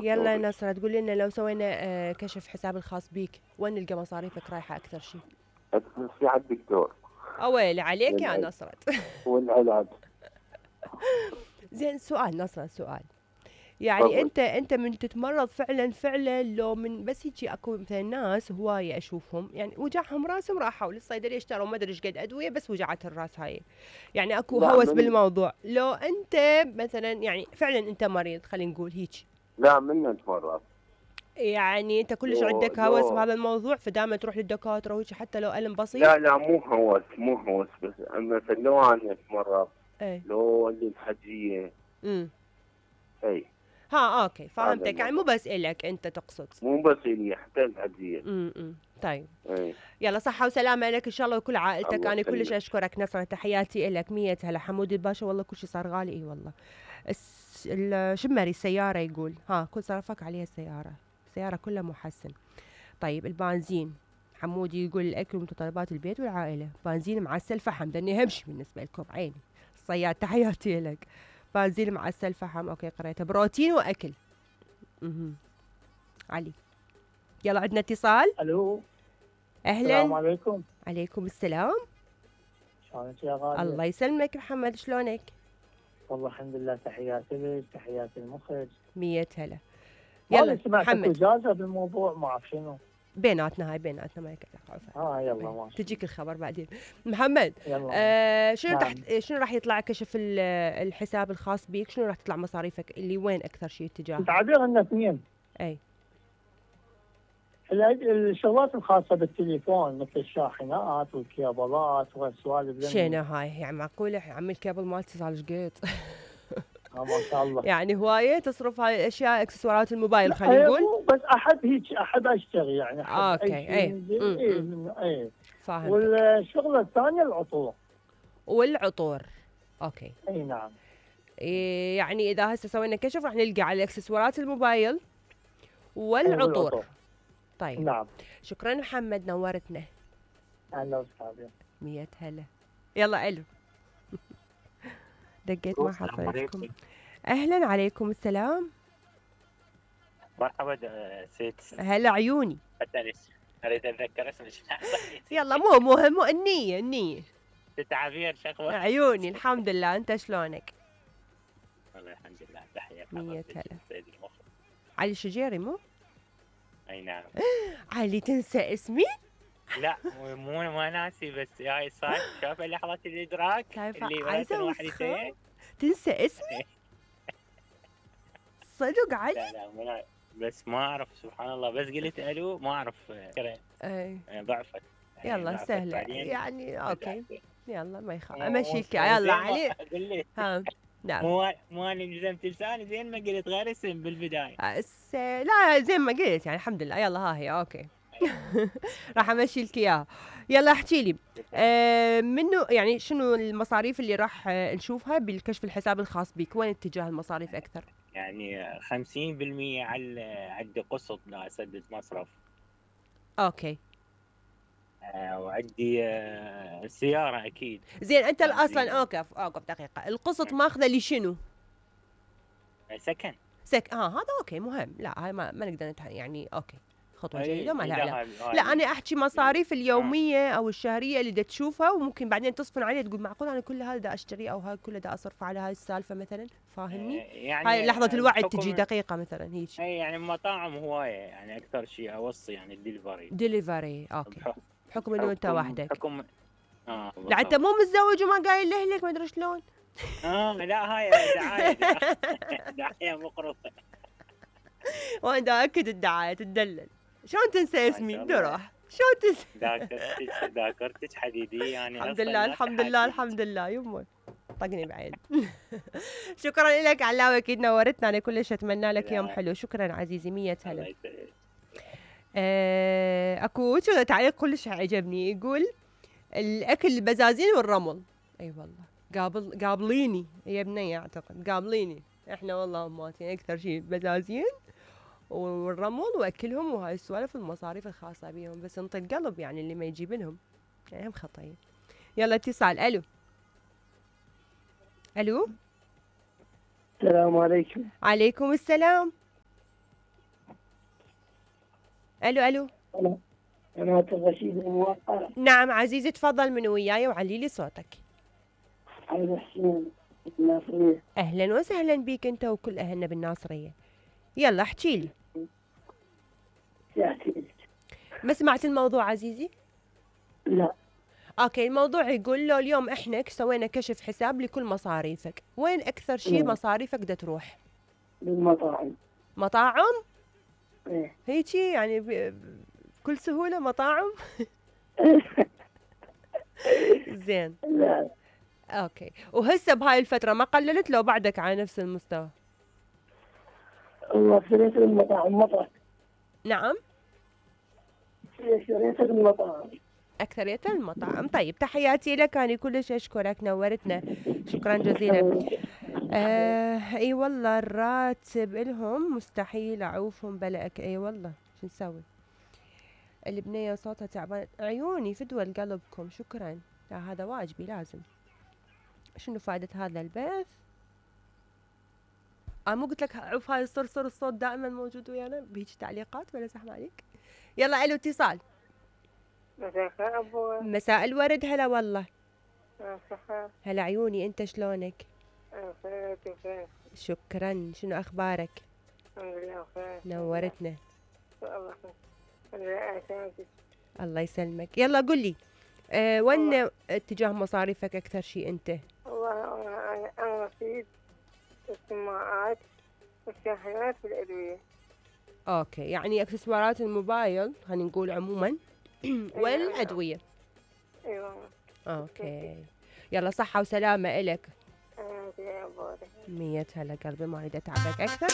يلا نصرة تقول لنا لو سوينا كشف حساب الخاص بيك وين نلقى مصاريفك رايحة أكثر شيء؟ أكثر شيء على الدكتور. أويلي عليك يا نصرة. والعلاج. زين سؤال نصرة، سؤال يعني طبعا. انت من تتمرض فعلا لو من بس يجي اكو مثلا ناس هوايه اشوفهم يعني وجعهم راسهم راحوا للصيدليه اشتروا ما ادري ايش قد ادويه بس وجعت الراس هاي، يعني اكو لا هوس بالموضوع. لو انت مثلا يعني فعلا انت مريض خلينا نقول هيك، لا من نتمرض يعني انت كلش عندك هوس بهذا الموضوع فدائما تروح للدكاتره وهيك حتى لو الم بسيط؟ لا مو هوس بس مثلا لو انا اتمرض لو عندي الحجيه اي ها اوكي فهمتك، يعني مو بس الك انت تقصد، مو بس الي حتى الحجيه. طيب يلا صحة وسلامة لك إن شاء الله وكل عائلتك. أنا كلش أشكرك نصرة، تحياتي لك. 100 هلا حمود الباشا. والله كل شيء صار غالي. إي والله. الشمري السيارة يقول ها كل صرفك عليها السيارة كلها محسن. طيب البنزين حمود يقول الأكل ومتطلبات البيت والعائلة. بنزين معسل فحم دني همشي بالنسبة لكم عيني الصياد تحياتي لك. بنزين معسل فحم أوكي قريتها. بروتين وأكل. علي يلا عندنا اتصال. الو اهلا. السلام عليكم. عليكم السلام. شلونك يا غالية؟ الله يسلمك محمد، شلونك؟ والله الحمد لله، تحياتي لك تحياتي المخرج. 100 هلا. يلا محمد اجازه بالموضوع ما اعرف شنو بيناتنا ما يكفي. يلا ماشي تجيك الخبر بعدين. محمد شنو راح يطلع كشف الحساب الخاص بيك؟ شنو راح تطلع مصاريفك اللي وين اكثر شيء اتجاه؟ تعبير انه اثنين. اي الشغلات الخاصه بالتليفون مثل الشاحنات والكيبلات والسوالف. شنو هاي يعني معقوله عمي الكيبل مالتي صار قد ما شاء الله يعني هوايه تصرف هاي الاشياء اكسسوارات الموبايل خلينا نقول. بس احب اشتري يعني اوكي اي فاهم. والشغله الثانيه والعطور اوكي اي نعم. يعني اذا هسه سوينا كشف راح نلقى على اكسسوارات الموبايل والعطور. طيب نعم. شكرا محمد نورتنا. اهلا وسهلا. 100 هلا. يلا الو دقيت ما حصلتكم. اهلا عليكم السلام. مرحبا ست. هلا عيوني. اريد اتذكر اسمك. يلا مو مهم النية تعابير شكوى عيوني. الحمد لله انت شلونك؟ والله الحمد لله. تحية 100 هلا. علي الشجيري مو؟ اي نعم. علي تنسى اسمي؟ لا مو ناسي بس هاي صار شوف لحظة الادراك اللي عايزة وصخة تنسى اسمي؟ صدق علي؟ لا بس ما اعرف سبحان الله، بس قلت الو ما اعرف. اي ضعفت. يلا سهلة يعني اوكي يلا ما يخاف امشيك. يلا علي ها. نعم مو انا لزمت لساني زين ما قلت غير اسم بالبداية. لا زين ما قلت يعني الحمد لله. يلا ها هي اوكي. راح امشي لك اياها. يلا احكي لي منو يعني شنو المصاريف اللي راح نشوفها بالكشف الحساب الخاص بك؟ وين اتجاه المصاريف اكثر؟ يعني 50% عندي قسط لا اسدد مصرف. اوكي. وعندي السيارة اكيد. زين انت اصلا اوقف دقيقة، القسط ماخذه لشنو؟ سكن. هذا اوكي مهم. لا هاي ما نقدر يعني اوكي خطوة جيدة ما لها علاقة. لا أنا أحكي مصاريف اليومية أو الشهرية اللي دا تشوفها وممكن بعدين تصفن عليه تقول معقول أنا كل هذا دا أشتري أو هاي كله دا أصرف على هاي السالفة مثلا. فاهمني؟ يعني هاي لحظة الوعي تجي دقيقة مثلا هيك. يعني مطاعم هواية يعني أكثر شيء أوصي يعني ديليفري أوكي. بحكم إنه أنت وحدك. بحكم لا أنت مو متزوج وما قايل لأهلك ما أدري شلون. لا هاي دعاية مقرصة. وأنا دا أكد الدعاية تدلل. شلون تنسى اسمي؟ دروح شلون تنسى؟ ذاكرتك حديدية يعني. الحمد لله يمه طقني بعيد. شكرا لك علاوي اكيد نورتنا. انا كلش اتمنى لك يوم حلو. شكرا عزيزي. 100 هلا. اكو تعليق كلش عجبني يقول الاكل البزازين والرمل. اي والله قابليني يا بنية اعتقد قابليني. احنا والله اماتين اكثر شيء بزازين والرمل واكلهم وهاي السوالف المصاريف الخاصه بيهم. بس انطي القلب يعني اللي ما يجيب لهم يعني هم خطيه. يلا اتصال. الو السلام عليكم. عليكم السلام. الو. قناة الرشيد الموقرة. نعم عزيزي تفضل من وياي وعلي لي صوتك. عبد حسين الناصرية. اهلا وسهلا بيك انت وكل اهلنا بالناصرية. يلا احكي لي. ما سمعت الموضوع عزيزي؟ لا. اوكي، الموضوع يقول له اليوم احنا سوينا كشف حساب لكل مصاريفك، وين اكثر شيء مصاريفك بدها تروح؟ بالمطاعم. مطاعم؟ ايه هيجي يعني بكل سهولة مطاعم؟ زين. لا. اوكي، وهسه بهاي الفترة ما قللت لو بعدك على نفس المستوى؟ والله اشتريت المطاعم مطرح. نعم؟ اشتريت المطاعم. أكثرية المطاعم. طيب تحياتي لك، أنا كلش أشكرك، نورتنا، شكرا جزيلا. اي والله الراتب إلهم مستحيل أعوفهم بلأك. اي والله شو نسوي؟ البنية صوتها تعبان، عيوني فدوى لقلبكم، شكرا. لا هذا واجبي لازم. شنو فائدة هذا البث؟ مو قلت لك عوف هاي الصرصر، الصوت دائما موجود ويانا بهيج تعليقات ولا زحمة عليك؟ يلا الو اتصال. مساء الخير أبو. مساء الورد. هلا والله. مساء. هلا عيوني، انت شلونك؟ بخير بخير. شكرا. شنو اخبارك؟ الحمد لله بخير. نورتنا. الله يسلمك. الله يسلمك. يلا قل لي وين اتجاه مصاريفك اكثر شيء انت؟ والله انا رصيد السماعات والشاحنات والادويه. اوكي، يعني اكسسوارات الموبايل خلينا نقول عموما والادويه. ايوه. اوكي، يلا صحه وسلامه الك. يا ابو. 100 هلا قلبي، ما اريد اتعبك اكثر.